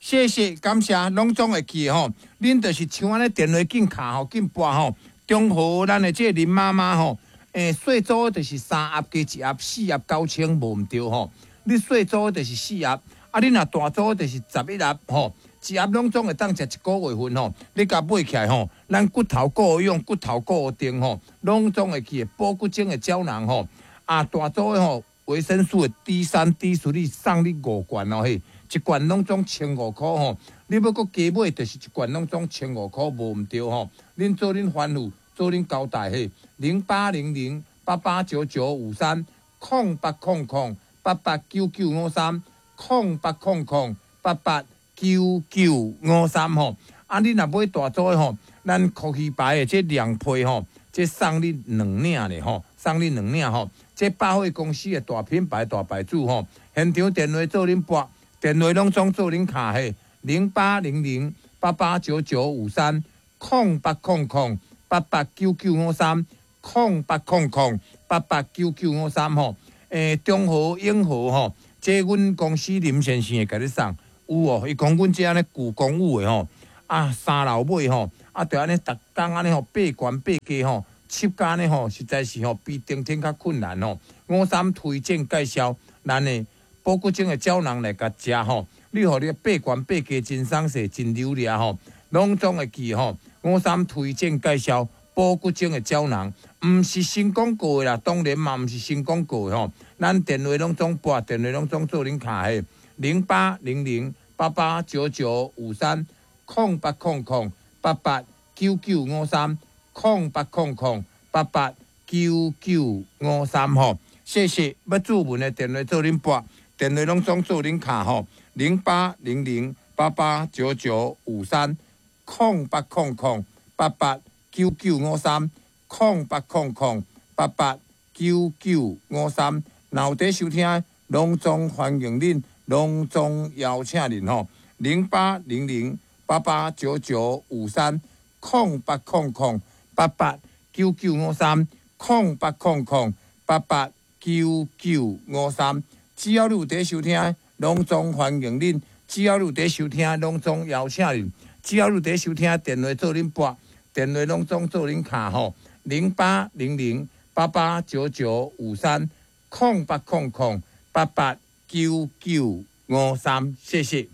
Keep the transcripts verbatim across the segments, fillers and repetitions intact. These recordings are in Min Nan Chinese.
謝謝感謝，攏總會記吼。恁就是像按呢電話緊敲吼，緊撥吼。中和咱的這個林媽媽吼，欸，細組就是三盒加一盒，四盒九千無毋對吼。你細組就是四盒，啊，你若大組就是十一盒吼。一盒攏總會當食一個月份吼。你共買起來吼，咱骨頭顧養，骨頭顧定吼，攏總會記補骨精的膠囊吼。啊，大組的吼，維生素的 D 三、D 四送你五罐哦嘿，一罐攏總千五箍吼。你欲閣加買，就是一罐攏總千五箍，無毋對吼。恁做恁吩咐，做恁交代嘿。零八零零八八九九五三，空八空空八八九九五三，空八空空八八九九五三吼。啊，你若買大組的吼，咱科興牌的這兩批吼，這送你兩領咧吼，送你兩領吼。這百貨公司的大品牌大牌子吼，現場電話做恁撥，電話攏總做恁敲嘿，零八零零八八九九五三，空八空空八八九九五三，空八空空八八九九五三吼。欸，中和永和吼，這阮公司林先生會共你送，有哦，伊講阮這按呢舊公寓的吼，啊三樓尾吼，啊著按呢逐工按呢吼爬懸爬低吼。七家呢吼，實在是吼比登天較困難吼。五三推薦介紹，咱的補骨精的膠囊來共食吼，你予你爬懸爬低真鬆勢，真流利吼，攏總會記吼。五三推薦介紹補骨精的膠囊，毋是新廣告的啦，當然嘛毋是新廣告的吼。咱電話攏總撥，電話攏總做恁敲的，零八零零八八九九五三，空八空空八八九九五三。空八空空八八九九五三吼，謝謝。欲注文的電話做恁撥，電話攏總做恁敲吼，零八零零八八九九五三，空八空空八八九九五三，空八空空八八九九五三。若有佇收聽，攏總歡迎恁，攏總邀請恁吼，零八零零八八九九五三，空八空空八八九九五三，空八空空八八九九五三。只要你有佇收聽，攏總歡迎恁；只要你有佇收聽，攏總邀請恁；只要你有佇收聽，電話做恁撥，電話攏總做恁敲吼，零八零零八八九九五三，空八空空八八九九五三。謝謝。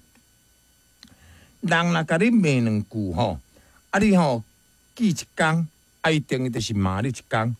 人若共你罵兩句吼，啊你吼記一工。啊，伊等於就是罵你一工。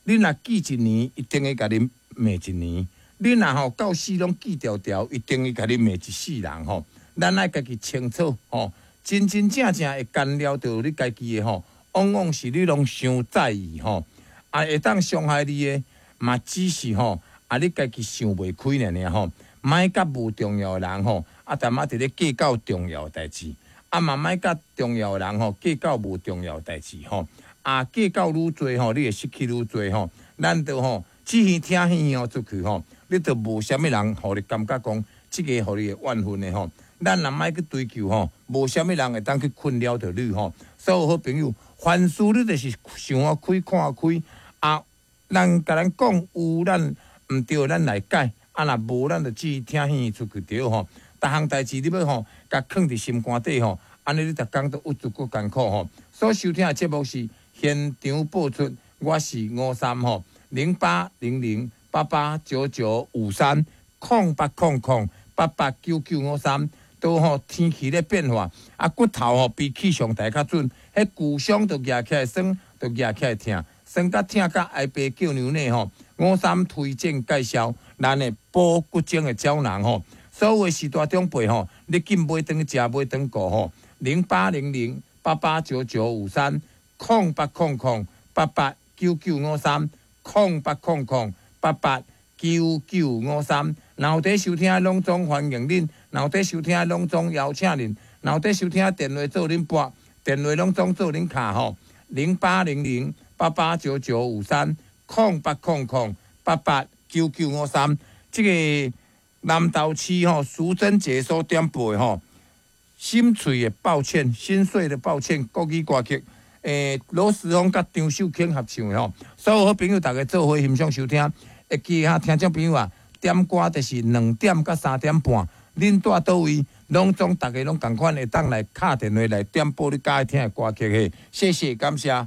你若記一年，伊等於共你罵一年。你若吼到死攏記牢牢，伊等於共你罵一世人吼。咱愛家己清楚吼，真真正正會干擾著你家己的吼，往往是你攏傷在意吼。啊，會當傷害你的，嘛只是吼，啊你家己想袂開爾爾吼。莫佮無重要的人吼，啊，淡仔佇咧計較重要的代誌，啊嘛莫佮重要的人吼計較無重要的代誌吼。啊，計較愈濟吼，你會失去愈濟吼。咱著吼，只耳聽耳哦出去吼，你著無啥物人予你感覺講，這個予你會怨恨的吼。咱若莫去追求吼，無啥物人會當去困擾著你吼。所有好朋友，凡事你就是想看開看開啊。人共咱講有咱毋對，咱來改。啊，若無咱就只耳聽耳出去著吼。逐項代誌你欲吼，共囥佇心肝底吼，按呢你逐工都鬱卒閣艱苦吼。所收聽的節目是現場播出，我是吳三吼，零八零零八八九九五三，空八空空八八九九五三。都吼天氣咧變化，啊骨頭吼比氣象台較準，彼舊傷就夯起來酸，就夯起來疼，酸甲疼甲哀爸叫娘呢吼。吳三推薦介紹咱的補骨精的膠囊吼，所有的序大長輩吼，你緊買轉去食，買轉顧吼，零八零零八八九九五三，空八空空八八九九五三，空八空空八八九九五三。若有佇收聽，攏總歡迎恁；若有佇收聽，攏總邀請恁；若有佇收聽，電話做恁撥，電話攏總做恁敲吼，零八零零八八九九五三，空八空空八八九九五三。這個南投市吼淑珍姐所點播的吼，心碎的抱歉，心碎的抱歉，國語歌曲，欸，羅時豐佮張秀卿合唱的吼，所有好朋友逐家做伙欣賞收聽，會記哈聽眾朋友啊，點歌就是兩點到三點半，恁蹛佗位，攏總逐家攏仝款會當來敲電話來點播你佮意聽的歌曲嘿，謝謝，感謝。